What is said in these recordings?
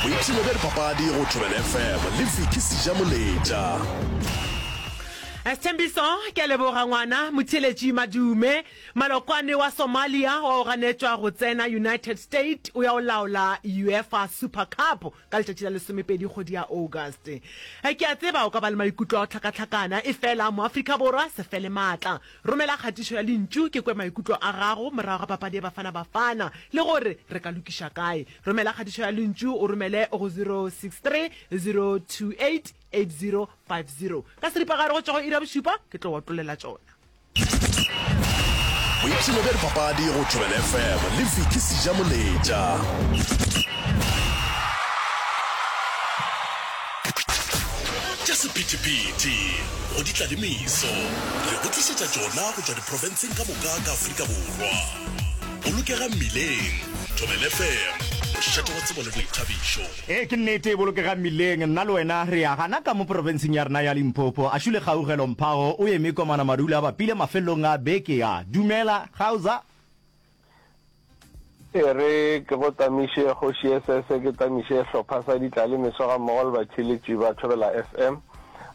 Boipshino bja dipapadi go Thobela FM le Vicky Sejamoletša. Sthembiso, Ke a leboga ngwana. Motheeletši Madume, Malokwane wa Somalia wa go ganetšwa go tsena United State o ya go laola UEFA Super Cup ka letšatši la lesomepedi kgwedi ya August. Ke a tseba o ka ba le maikutlo a go hlakahlakana, efela Moafrika Borwa se fele maatla. Romela kgatišo ya lentšu ke kwe maikutlo a gago morago ga papadi ya Bafana Bafana le gore re ka lokiša kae. Romela kgatišo ya lentšu o romele go 063 028 8050. Ka seripagare go tšwa go iri ya bošupa ke tlo otlolela tšona. Boipshino bja dipapadi go Thobela FM le Vicky Sejamoletša. Tša sephethephethe go di tla le meso, re go tlišetša tšona go tšwa diprofenseng ka moka ka Afrika Borwa. Bolokega mmileng, Thobela FM, mošate wa tsebo le boithabišo. Ee, ke nnete, bolokega mmileng. Nna le wena re ya gana ka mo profenseng ya rena ya Limpopo. Ašule Kgaugelo Mphago o eme komana madula a bapile mafelelong a beke a. Dumela, Gauza. E re ke go tamiše Kgoši SS, ke tamiše hlopha sa Ditlale Meso gammogo le batheeletši ba Thobela FM.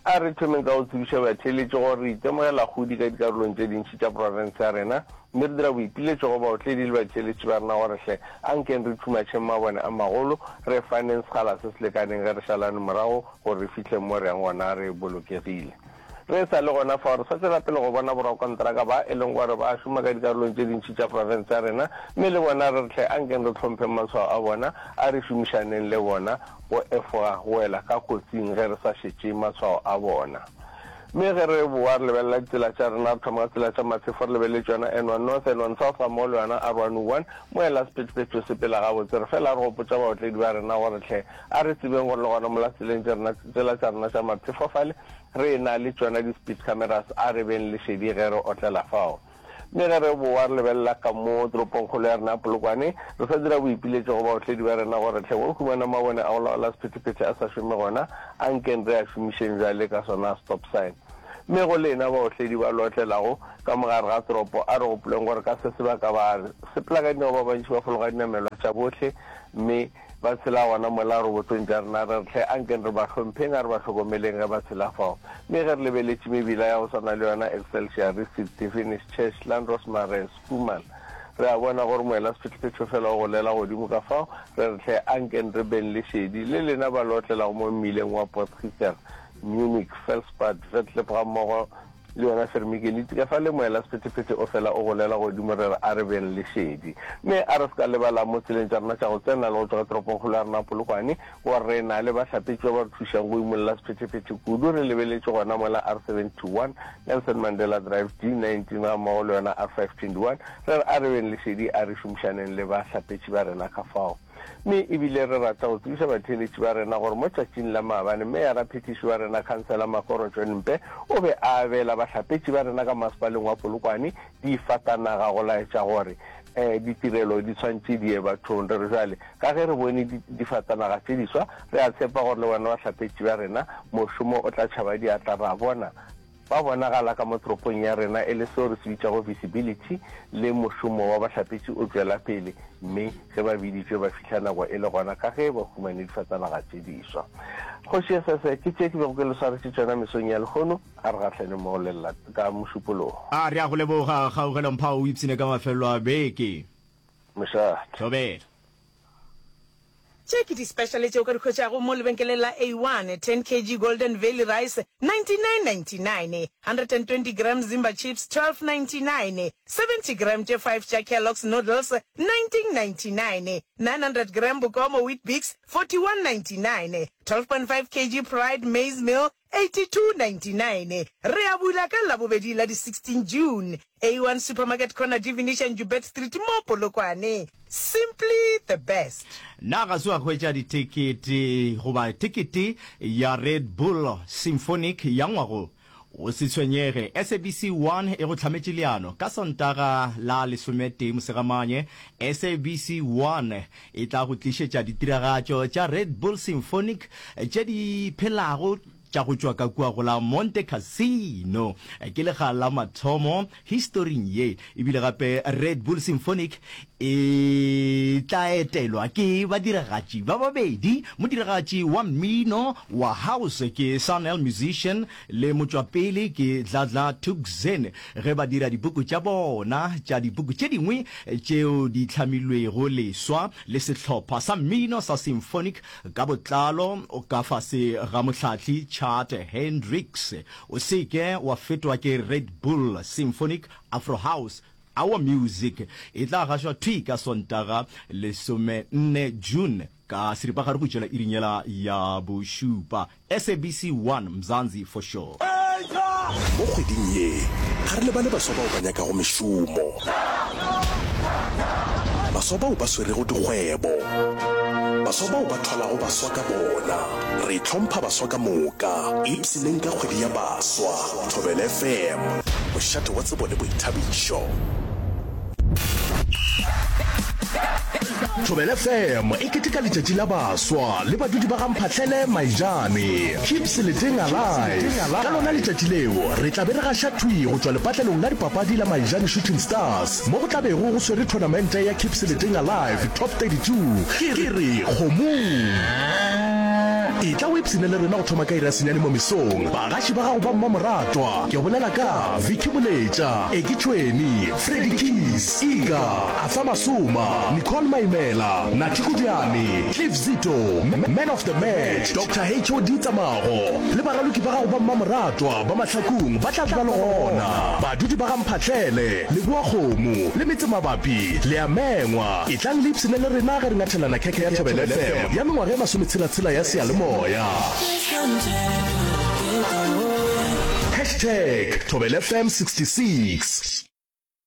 A re thomeng ka go tsebiša batheeletši gore re itemogela kgodi ka dikarolong tše dintši tša profense ya rena mme re dira boipiletšo go baotledi le batheeletši ba rena gore hle ankeng re thumatšheng mabone a magolo, re faneng sekgala se se lekaneng ge re šalane morago gore re fihle mo re yang gona re bolokegile. Re sa le gona fao, re sa tšwela pele go bona borakontraka ba e leng gore ba šoma ka dikarolong tše dintši tša profense ya rena, mme le bona re re hle ankeng re hlompheng matshwao a bona, a re šomišaneng le bona go efoga go wela ka kotsing ge re sa šetše matshwao a bona. Mme ge re boa re lebelela ditsela tša rena, re thoma ka tsela tša Maphefo re lebeletše yona N1 North, N1 South gammogo le yona R101, moela sephethephethe o sepela gabotse. Re fela re gopotša baotledi ba rena gore hle a re tsebeng gore le gona mola tseleng tše rena, tsela tša rena tša Maphefo fale, Re na le tšona di-speed cameras, a re beng le šedi ge re otlela fao. Mme ge re bowa re lebelela ka mo toropongkgolo ya rena ya Polokwane, re sa dira boipiletšo go baotledi ba rena gore hle go humana mabone a go laola sephethephethe a sa šome gona, a nkeng re a šomišeng bjale ka sona stop sign. Mme go lena baotledi ba le otlelago ka mo gare ga toropo, a re gopoleng gore ka se sebaka ba sepela ka dinao ba bantši ba fologa dinamelwa tša bohle mme Ba tshela gona mola robotong tša rena, re re, Hle, ankeng re ba hlompheng, a re ba hlokomeleng ge ba tshela fao. Mme ge re lebeletše mebila ya go swana le yona Excelsior, Receipt, Finish, Church, Landros Marais, Schoeman, re a bona gore moelasephetephete o fela o golela godimo ka fao, re re, Hle, ankeng re beng le šedi. Le lena ba le otlelago mo mmileng wa Potgieter, Munich, Felspad, Vetlip gammogo Le yona fermikeliti ka fa le moela sephethephethe o fela o golela godimo re re a re beng le šedi. Mme a re se ka lebala mo tseleng tša rena tša go tsena le go tšwa ka toropongkgolo ya rena Polokwane gore re na le bahlapetši ba ba re thušang go imolla sephethephethe kudu re lebeletše gona mola R71, Nelson Mandela Drive, D19 gammogo le yona R521 re re a re beng le šedi a re šomišaneng le bahlapetši ba rena ka fao. Mme e bile re rata go tsebiša batheeletši ba rena gore mo tšatšing la maabane Meyara-phethiši wa rena Khansela Makoro John Mpe o be a abela bahlapetši ba rena ka Masepaleng wa Polokwane difatanaga go laetša gore ditirelo di tshwantše di ye bathong. Re re bjale ka ge re bone difatanaga tše diswa re a tshepa gore le bona bahlapetši ba rena mošomo o tla tšhaba diatla ra bona Ba bonagala ka mo toropong ya rena e le seo re se bitšago visibility, le mošomo wa bahlapetši o tšwela pele, mme ge ba biditšwe ba fihla nako e le gona ka ge ba humane difatanaga tše diswa. Kgoši Esese, Ke tše ke bego ke le swaretše tšona mesong ya lehono, a re gahlane mo go le ka Mošupologo. A re a go leboga, Kgaugelo Mphao, o ipshine ka mafelelo a beke. Mošate. Thobela. Tše ke di-special tše o ka di hwetšago mo lebenkeleng la A1, 10 kg Golden Valley Rice, 99.99, 120 gram Zimba Chips, 12.99, 70 gram tše 5 tša Kellogg's Noodles, 19.99, 900 gram Bokomo Weet-Bix, 41.99, 12.5 kg Pride Maize Meal, 82.99. Re a bula ka Labobedi la di 16 June. A1 Supermarket Corner Divination Joubert Street mo Polokwane. Simply the best. Na ga se wa hwetša dithekete goba thekete ya Red Bull Symphonic ya ngwago? O se tshwenyege, SABC 1 e go hlametše leano. Ka Sontaga la lesometee Mosegamanye, SABC 1 e tla go tlišetša ditiragatšo tša Red Bull Symphonic tše di phelago. tša go tšwa ka kua go la Monte Cassino. Ke lekga la mathomo historing ye. Ebile gape Red Bull Symphonic e tla etelwa ke badiragatši ba babedi, modiragatši wa mmino wa house ke Sun-El Musician le motšwapele ke Dladla Thukzin ge ba dira dipuku tša bona tša dipuku tše dingwe tšeo di hlamilwego leswa le sehlopha sa mmino sa symphonic ka botlalo ka fase ga mohlahli Chad Hendricks. O se ke wa fetwa ke Red Bull Symphonic Afro House Our Music e tla gašwa thwi ka Sontaga 14 June ka seripagare go tšwela iring yela ya bošupa. SABC 1 Mzansi for sure. Mo kgweding ye, ga re lebale baswa bao ba nyakago mešomo, baswa bao ba swerego dikgwebo, baswa bao ba thwalago baswa ka bona. Re hlompha baswa ka moka. Ipshineng ka kgwedi ya baswa. Thobela FM, mošate wa tsebo le boithabišo. Thobela FM e keteka letšatši la baswa le badudi ba ga Mphahlele Maijane. Keep Seleteng alive. Ka lona letšatši leo re tla be re gaša thwi go tšwa lepatlelong la dipapadi la Maijane Shooting Stars mo go tla bego go swere thonamente ya Keep Seleteng Alive Top 32. Ke re kgomong. Etla o ipshine le rena go thoma ka iri ya senyane mo mesong. Bagaši ba gago ba mmamoratwa ke bolela ka Vicky Moletša, Eki Tšhweni, Freddy Keys, Iga, Arthur Masoma, Nicole Maimela, Nathi Kodiane, Cliff Zito, Man of the Match, Doctor HOD Tsamago le baraloki ba gago ba mmamoratwa ba Mahlakung ba tla be ba le gona. Badudi ba ga Mphahlele, Leboakgomo le metsemabapi le a mengwa. Etlang le ipshine le rena ge re ngathelana khekhe ya Thobela FM ya mengwaga e masometshela-tshela ya seyalemoya. Hashtag ThobelaFM 66.